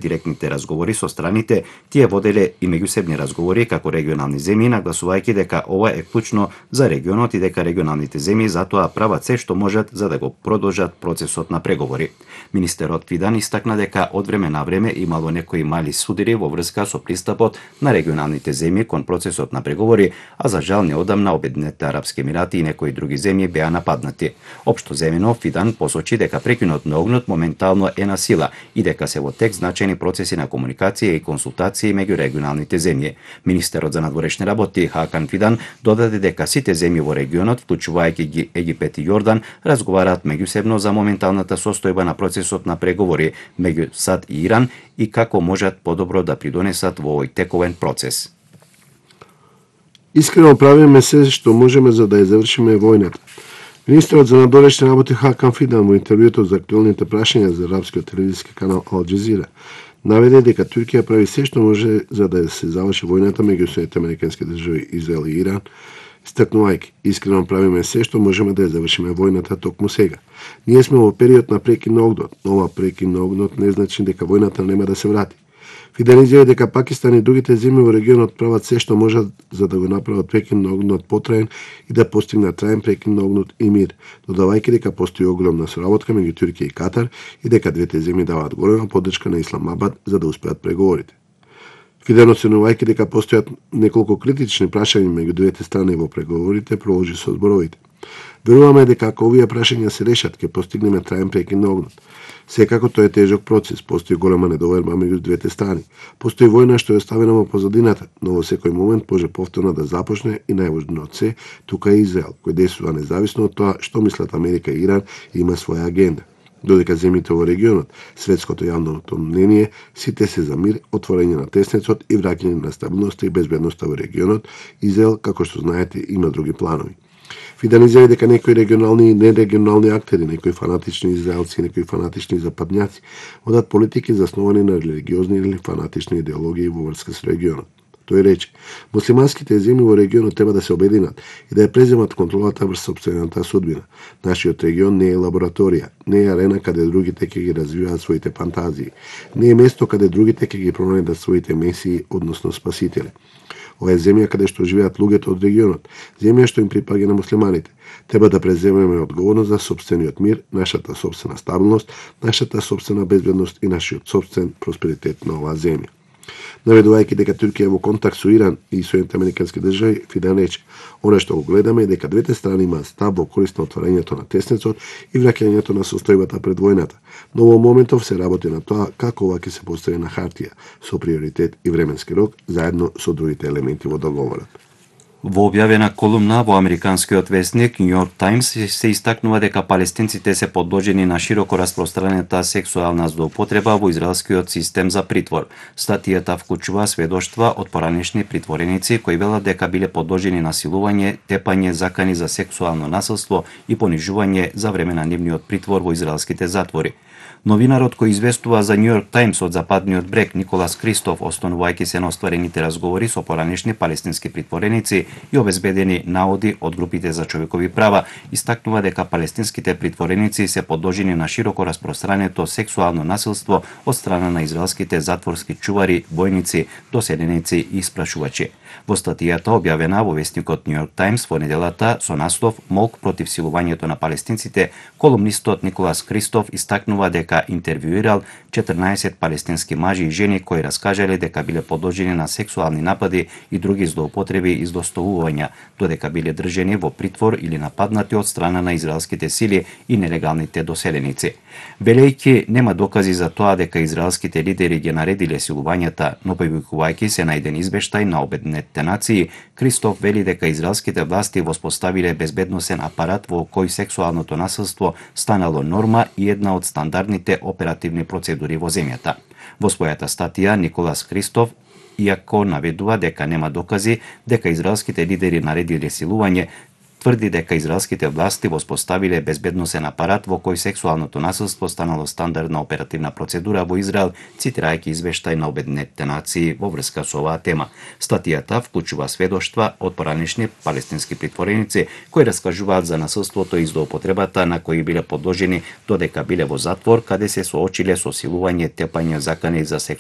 директните разговори со страните, тие воделе и меѓусебни разговори како регионални земји, нагласувајќи дека ова е клучно за регионот и дека регионалните земји затоа прават се што можат за да го продолжат процесот на преговори. Министерот Фидан истакна дека од време на време имало некои мали судири во врска со пристапот на регионалните земји кон процесот на преговори, а за жал неодамна Обединетите арапски емирати и некои други земји беа нападнати. Општо земено, Фидан посочи дека прекинот на огнот моментално е на сила и дека се во тек значени процеси на комуникација и консултации меѓу регионалните земји. Министерот за надворешни работи Хакан Фидан додаде дека сите земји во регионот, вклучувајќи ги Египет и Јордан, разговараат меѓусебно за моменталната состојба на процесот на преговори меѓу САД и Иран и како можат подобро да придонесат во овој тековен процес. Искрено правиме се што можеме за да ја завршиме војната. Министерот за надворешни работи Хакан Фидан во интервјуто за актуелните прашања за арапскиот телевизиски канал Ал Џазира наведе дека Туркија прави се што може за да се заврши војната меѓу Соединетите американски држави, Израел и Иран, истакнувајќи: искрено правиме се што можеме да ја завршиме војната токму сега. Ние сме во период на прекин на огнот, но ова прекин на огнот не значи дека војната нема да се врати. Фидан изјави дека Пакистан и другите земји во регионот прават се што можат за да го направат прекин на огнот потраен и да постигнат траен прекин на огнот и мир, додавајќи дека постои огромна соработка меѓу Туркија и Катар и дека двете земји даваат голема поддршка на Исламабад за да успеат преговорите. Фидан, оценувајќи дека постојат неколку критични прашања меѓу двете страни во преговорите, продолжи со зборовите: веруваме дека ако овие прашања се решат, ќе постигнеме траен прекин на огнот. Секако тоа е тежок процес, постои голема недоверба меѓу двете страни. Постои војна што е оставена во позадината, но во секој момент може повторно да започне и најважно од се, тука е Израел, кој действува независно од тоа што мислат Америка и Иран и има своја агенда. Додека земјите во регионот, светското јавното мнение, сите се за мир, отворање на теснецот и враќање на стабилноста и безбедноста во регионот, Израел, како што знаете, има други планови. Фидан изјави дека некои регионални и нерегионални актери, некои фанатични израелци и некои фанатични западњаци водат политики засновани на религиозни или фанатични идеологии во врска со регионот. Тој рече: муслиманските земји во регионот треба да се обединат и да ја преземат контролата врз сопствената судбина. Нашиот регион не е лабораторија, не е арена каде другите ќе ги развиваат своите фантазии, не е место каде другите ќе ги пронајдат своите месии, односно спасители. Ова е земја каде што живеат луѓето од регионот, земја што им припаѓа на муслиманите. Треба да преземеме одговорност за сопствениот мир, нашата сопствена стабилност, нашата сопствена безбедност и нашиот сопствен просперитет на оваа земја. Наведувајќи дека Туркија е во контакт со Иран и Соединетите американски држави, Фидан рече: она што го гледаме е дека двете страни имаат став во корист на отворањето на теснецот и враќањето на состојбата пред војната, но во моментов се работи на тоа како ова ќе се постави на хартија, со приоритет и временски рок, заедно со другите елементи во договорот. Во објавена колумна во американскиот весник New York Times се истакнува дека палестинците се подложени на широко распространета сексуална злоупотреба во израелскиот систем за притвор. Статијата вклучува сведоштва од поранешни притвореници кои велат дека биле подложени на силување, тепање, закани за сексуално насилство и понижување за време на нивниот притвор во израелските затвори. Новинарот кој известува за New York Times од западниот брег Николас Кристоф, останувајќи се на остварените разговори со поранешни палестински притвореници и обезбедени наоди од групите за човекови права, истакнува дека палестинските притвореници се подложени на широко распространето сексуално насилство од страна на израелските затворски чувари, војници, доселеници и испрашувачи. Во статијата објавена во весникот New York Times во неделата со наслов "Молк против силувањето на палестинците", колумнистот Николас Кристоф истакнува дека интервјуирал 14 палестински мажи и жени кои раскажале дека биле подложени на сексуални напади и други злоупотреби и злоставувања, додека биле држени во притвор или нападнати од страна на израелските сили и нелегалните доселеници. Велејќи нема докази за тоа дека израелските лидери ги наредиле силувањата, но привикувајќи се на еден извештај на Обединетите нации, Кристоф вели дека израелските власти воспоставиле безбедносен апарат во кој сексуалното насилство станало норма и една од стандардните оперативни процедури во земјата. Во својата статија Николас Кристоф, иако наведува дека нема докази дека израелските лидери наредиле силување, тврди дека израелските власти воспоставиле безбедносен апарат во кој сексуалното насилство станало стандардна оперативна процедура во Израел, цитирајќи извештај на Обединетите нации во врска со оваа тема. Статијата вклучува сведоштва од поранешни палестински притвореници кои раскажуваат за насилството и злоупотребата на кои биле подложени додека биле во затвор, каде се соочиле со силување, тепање, закани за